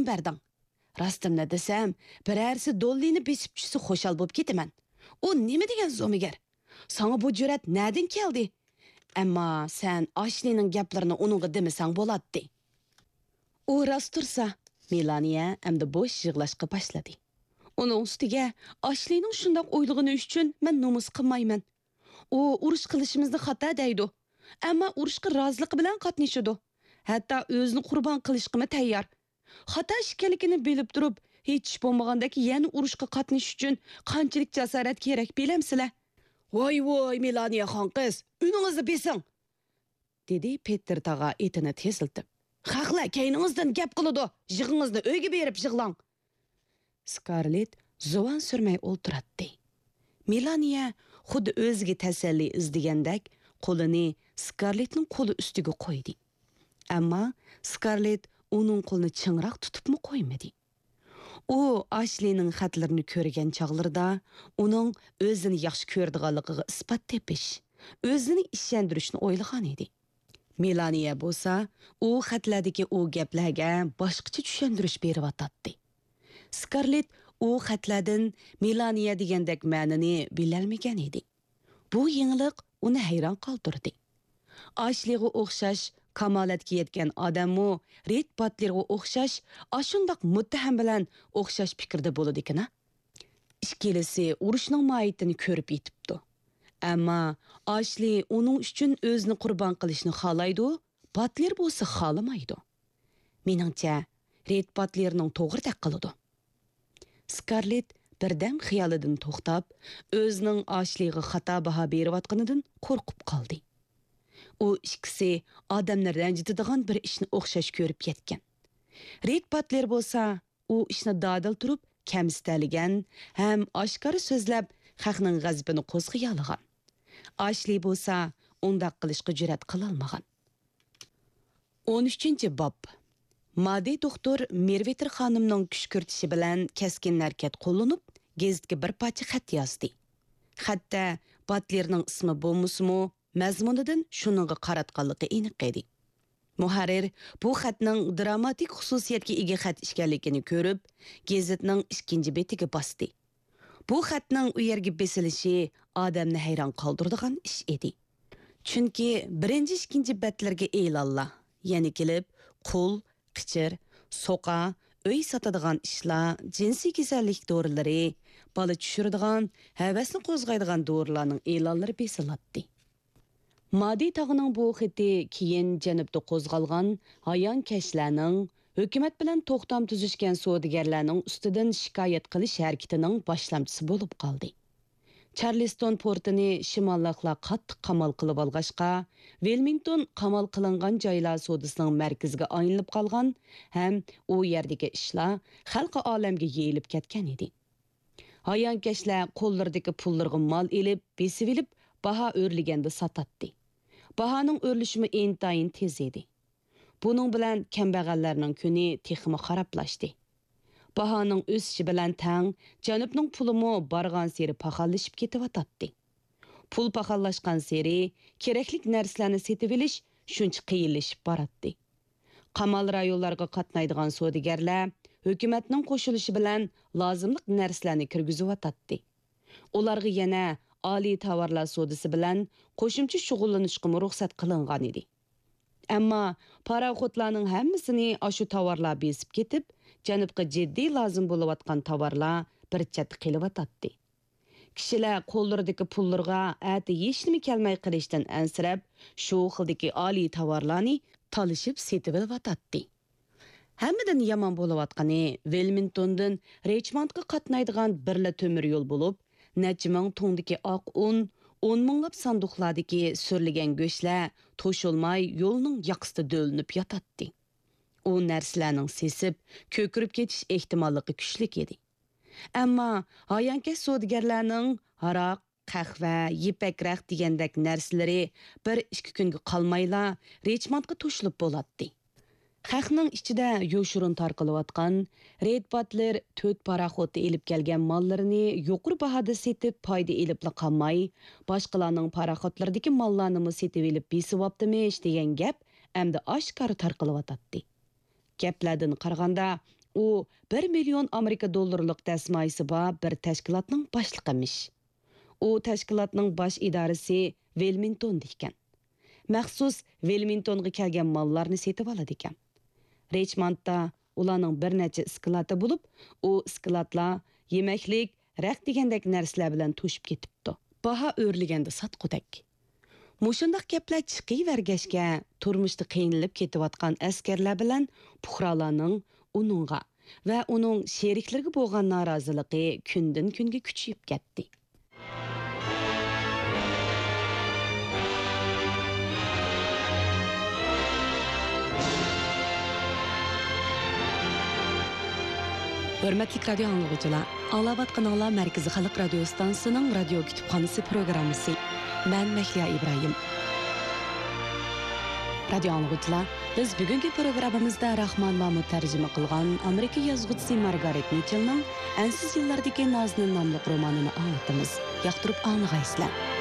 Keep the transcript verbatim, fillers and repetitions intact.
بەردىڭ. راستىمنى دېسەم، بىرەرسى دوللىنى بېسىپ چۈشسە خۇشال بولۇپ كېتىمەن. ئۇ نېمە دېگەن زومىگەر؟ ساڭا بۇ جۈرئەت نەدىن كەلدى؟ ئەمما سەن ئاشلىنىڭ گەپلىرىنى ئۇنىڭغا دېمىسەڭ بولاتتى. ئۇ راست تۇرسا، مېلانىيە ئەمدى بوش يىغلاشقا باشلىدى. ئۇنىڭ ئۈستىگە ئاشلىنىڭ شۇنداق ئويلىغىنى ئۈچۈن مەن نومۇس قىلمايمەن. ئۇ ئۇرۇش قىلىشىمىزنى خاتا دەيدۇ. ئەمما ئۇرۇشقا رازىلىقى بىلەن قاتنىشىدۇ. ھەتتا ئۆزىنى قۇربان قىلىشقىمۇ تەييار. خاتا ئىش ئىكەنلىكىنى بىلىپ تۇرۇپ، ھېچ ئىش بولمىغاندەك يەنە ئۇرۇشقا قاتنىشىش ئۈچۈن قانچىلىك جاسارەت كېرەك بىلەمسىلەر؟ ۋاي، ۋاي، مېلانىيە خانقىز، ئۈنىڭىزنى بېسىڭ! دېدى پېتېر تاغا ئېتىنى تېزلىتىپ. خەقلەر كەينىڭىزدىن گەپ قىلىدۇ، يىغىڭىزنى ئۆيگە بېرىپ يىغلاڭ! سكارلېت زۇۋان سۈرمەي ئولتۇراتتى. مېلانىيە خۇددى ئۆزىگە تەسەللى ئىزدىگەندەك قولىنى سكارلېتنىڭ قولى ئۈستىگە قويدى. ئەمما سكارلېت ئۇنىڭ قولىنى چىڭراق تۇتۇپمۇ قويمىدى. ئۇ ئاشلىنىڭ خەتلىرىنى كۆرگەن چاغلىرىدا ئۇنىڭ ئۆزىنى ياخشى كۆرىدىغانلىقىغا ئىسپات تېپىش، ئۆزىنى ئىشەندۈرۈشنى ئويلىغان ئىدى. مېلانىيە بولسا ئۇ خەتلەردىكى ئۇ گەپلەرگە باشقىچە چۈشەندۈرۈش بېرىۋاتاتتى. سكارلېت ئۇ خەتلەردىن مېلانىيە دېگەندەك مەنىنى بىلەلمىگەن ئىدى. بۇ يېڭىلىق ئۇنى ھەيران قالدۇردى. ئاشلىغا ئوخشاش كامالەتكە يەتكەن ئادەممۇ رېد باتلېرغا ئوخشاش ئاشۇنداق مۇتتەھەم بىلەن ئوخشاش پىكىردە بولىدىكىنا؟ ئىككىلىسى ئۇرۇشنىڭ ماھىيىتىنى كۆرۈپ يېتىپتۇ. ئەمما ئاشلى ئۇنىڭ ئۈچۈن ئۆزىنى قۇربان قىلىشنى خالايدۇ، باتلېر بولسا خالىمايدۇ. مېنىڭچە، رېد باتلېرنىڭ توغرىدەك قىلىدۇ. سكارلېت بىردەم خىيالىدىن توختاپ، ئۆزىنىڭ ئاشلىغا خاتا باھا بېرىۋاتقىنىدىن قورقۇپ قالدى. ئۇ ئىككىسى ئادەمنى رەنجىتىدىغان بىر ئىشنى ئوخشاش كۆرۈپ يەتكەن. رېد باتلېر بولسا ئۇ ئىشنى دادىل تۇرۇپ كەمسىتەلىگەن ھەم ئاشكارا سۆزلەپ خەقنىڭ غەزىپىنى قوزغىيالىغان. ئاشلى بولسا ئۇنداق قىلىشقا جۈرئەت قىلالمىغان. ئون ئۈچىنچى باب. مادى دوختۇر مېرۋېتېر خانىمنىڭ كۈشكۈرتۈشى بىلەن كەسكىن ھەرىكەت قوللىنىپ، گېزىتكە بىر پارچە خەت يازدى. خەتتە باتلېرنىڭ ئىسمى بولمىسىمۇ، مەزمۇنىدىن شۇنىڭغا قاراتقانلىقى ئېنىق ئىدى. مۇھەررىر بۇ خەتنىڭ دراماتىك خۇسۇسىيەتكە ئىگە خەت ئىكەنلىكىنى كۆرۈپ، گېزىتنىڭ ئىككىنچى بېتىگە باستى. بۇ خەتنىڭ ئۇ يەرگە بېسىلىشى ئادەمنى ھەيران قالدۇرىدىغان ئىش ئىدى. چۈنكى بىرىنچى، ئىككىنچى بەتلەرگە ئېلانلار، يەنە كېلىپ قۇل، قېچىر، سوقا، ئۆي ساتىدىغان ئىشلار، جىنسىي كېسەللىك دورىلىرى، بالا چۈشۈرىدىغان، ھەۋەسنى قوزغايدىغان دورىلارنىڭ ئېلانلىرى بېسىلاتتى. مادى تاغنىڭ بۇ خېتى كېيىن جەنۇبتا قوزغالغان ھايانكەشلەرنىڭ ھۆكۈمەت بىلەن توختام تۈزۈشكەن سودىگەرلەرنىڭ ئۈستىدىن شىكايەت قىلىش ھەرىكىتىنىڭ باشلامچىسى بولۇپ قالدى. چارلىستون پورتىنى شىماللىقلار قاتتىق قامال قىلىۋالغاچقا، ۋىلمىنگتون قامال قىلىنغان جايلار سودىسىنىڭ مەركىزىگە ئايلىنىپ قالغان ھەم ئۇ يەردىكى ئىشلار خەلقى ئالەمگە يېيىلىپ كەتكەن ئىدى. ھايانكەشلەر قوللىرىدىكى پۇللىرىغا مال ئېلىپ، بېسىۋېلىپ، باھا ئۆرلىگەندە ساتاتتى. باھانىڭ ئۆرلىشىمۇ ئىنتايىن تېز ئىدى. بۇنىڭ بىلەن كەمبەغەللەرنىڭ كۈنى تېخىمۇ خارابلاشتى. باھانىڭ ئۆسۈشى بىلەن تەڭ جەنۇبنىڭ پۇلىمۇ بارغانسېرى پاخاللىشىپ كېتىۋاتاتتى. پۇل پاخاللاشقانسېرى كېرەكلىك نەرسىلەرنى سېتىۋېلىش شۇنچە قىيىنلىشىپ باراتتى. قامال رايونلارغا قاتنايدىغان سودىگەرلەر ھۆكۈمەتنىڭ قوشۇلۇشى بىلەن لازىملىق نەرسىلەرنى كىرگۈزۈۋاتاتتى. ئۇلارغا يەنە ئالىي تاۋارلار سودىسى بىلەن قوشۇمچە شۇغۇللىنىشقىمۇ رۇخسەت قىلىنغانىدى. ئەمما پاراخوتلارنىڭ ھەممىسىنى ئاشۇ تاۋارلار بېسىپ كېتىپ، جەنۇبقا جىددىي لازىم بولۇۋاتقان تاۋارلار بىر چەتتە قېلىۋاتاتتى. كىشىلەر قوللىرىدىكى پۇللىرىغا ئەتە ھېچنېمە كەلمەي قېلىشتىن ئەنسىرەپ، شۇ خىلدىكى ئالىي تاۋارلارنى تالىشىپ سېتىۋېلىۋاتاتتى. ھەممىدىن يامان بولۇۋاتقىنى، ۋىلمىنگتوندىن رىچموندقا قاتنايدىغان بىرلا تۆمۈر يول بولۇپ، نەچچە مىڭ تۇڭدىكى ئاق ئۇن، ئون مىڭلاپ ساندۇقلاردىكى سۈرۈلگەن گۆشلەر توشۇلماي يولنىڭ ياقىسىدا دۆۋىلىنىپ ياتاتتى. ئۇ نەرسىلەرنىڭ سېسىپ، كۆكىرىپ كېتىش ئېھتىماللىقى كۈچلۈك ئىدى. ئەمما ھايانكەش سودىگەرلەرنىڭ ھاراق، قەھۋە، يىپەك رەخت دېگەندەك نەرسىلىرى بىر ئىككى كۈنگە قالمايلا رىچموندقا توشۇلۇپ بولاتتى. خەقنىڭ ئىچىدە يوشۇرۇن تارقىلىۋاتقان رېد باتلېر تۆت پاراخوتتا ئېلىپ كەلگەن ماللىرىنى يۇقىرى باھادا سېتىپ پايدا ئېلىپلا قالماي، باشقىلارنىڭ پاراخوتلىرىدىكى ماللارنىمۇ سېتىۋېلىپ بېسىۋاپتىمىش دېگەن گەپ ئەمدى ئاشكارا تارقىلىۋاتاتتى. گەپلەردىن قارىغاندا، ئۇ بىر مىليون ئامېرىكا دوللىرىلىق دەسمايىسى بار بىر تەشكىلاتنىڭ باشلىقىمىش. ئۇ تەشكىلاتنىڭ باش ئىدارىسى ۋىلمىنتوندا ئىكەن. مەخسۇس ۋىلمىنتونغا كەلگەن ماللارنى سېتىۋالىدىكەن. رىچموندتا ئۇلارنىڭ بىر نەچچە ئىسكىلاتى بولۇپ، ئۇ ئىسكىلاتلار يېمەكلىك، رەخت دېگەندەك نەرسىلەر بىلەن توشۇپ كېتىپتۇ. باھا ئۆرلىگەندە ساتقۇدەك. مۇشۇنداق گەپلەر چىقىۋەرگەچكە، تۇرمۇشتا قىينىلىپ كېتىۋاتقان ئەسكەرلەر بىلەن پۇقرالارنىڭ ئۇنىڭغا ۋە ئۇنىڭ شېرىكلىرىگە بولغان نارازىلىقى كۈندىن-كۈنگە كۈچىيىپ كەتتى. ھۆرمەتلىك رادىيو ئاڭلىغۇچىلار، ئاڭلاۋاتقىنىڭلار مەركىزىي خەلق رادىيو ئىستانسىسىنىڭ رادىيو كۇتۇپخانىسى پروگراممىسى. مەن مەھلىيا ئىبراھىم. رادىيو ئاڭلىغۇچىلار، بىز بۈگۈنكى پروگراممىمىزدا راخمان مامۇت تەرجىمە قىلغان ئامېرىكا يازغۇچىسى مارگارېت مىچېلنىڭ ئەنسىز يىللاردىكى نازنىن ناملىق رومانىنى ئاڭلىتىمىز. ياقتۇرۇپ ئاڭلىغايسىلەر.